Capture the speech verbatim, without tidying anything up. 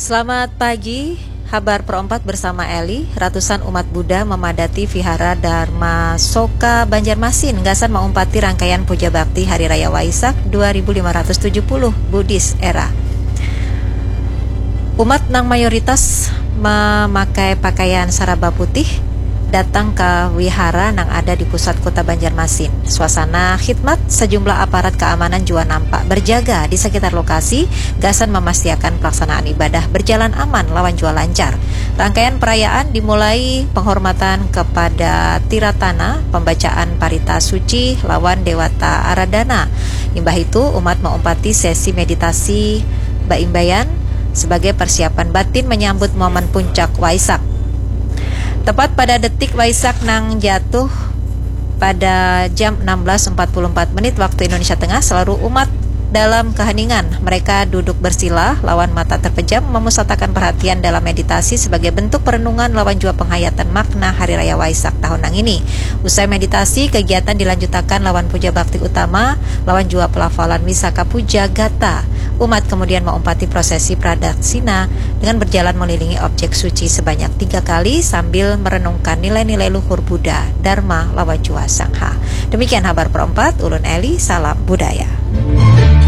Selamat pagi, Habar Pro empat bersama Eli. Ratusan umat Buddha memadati Vihara Dharma Soka Banjarmasin gasan maumpati rangkaian puja bakti Hari Raya Waisak dua ribu lima ratus tujuh puluh Buddhist Era. Umat nang mayoritas memakai pakaian saraba putih datang ke wihara nang ada di pusat kota Banjarmasin. Suasana khidmat sejumlah aparat keamanan juga nampak berjaga di sekitar lokasi gasan memastiakan pelaksanaan ibadah berjalan aman lawan jua lancar. Rangkaian perayaan dimulai penghormatan kepada Tiratana, pembacaan parita suci lawan Dewata Aradana. Imbah itu, umat maumpati sesi meditasi baimbaian sebagai persiapan batin menyambut momen puncak Waisak. Tepat pada detik Waisak nang jatuh pada jam enam belas empat puluh empat menit waktu Indonesia Tengah, seluruh umat dalam keheningan. Mereka duduk bersila lawan mata terpejam, memusatakan perhatian dalam meditasi sebagai bentuk perenungan lawan jua penghayatan makna Hari Raya Waisak tahun nang ini. Usai meditasi, kegiatan dilanjutakan lawan puja bakti utama lawan jua pelafalan Wisaka Puja Gata. Umat kemudian maumpati prosesi pradaksina dengan berjalan melilingi objek suci sebanyak tiga kali sambil merenungkan nilai-nilai luhur Buddha, Dharma, lawan jua Sangha. Demikian Habar Pro empat, ulun Eli, salam budaya.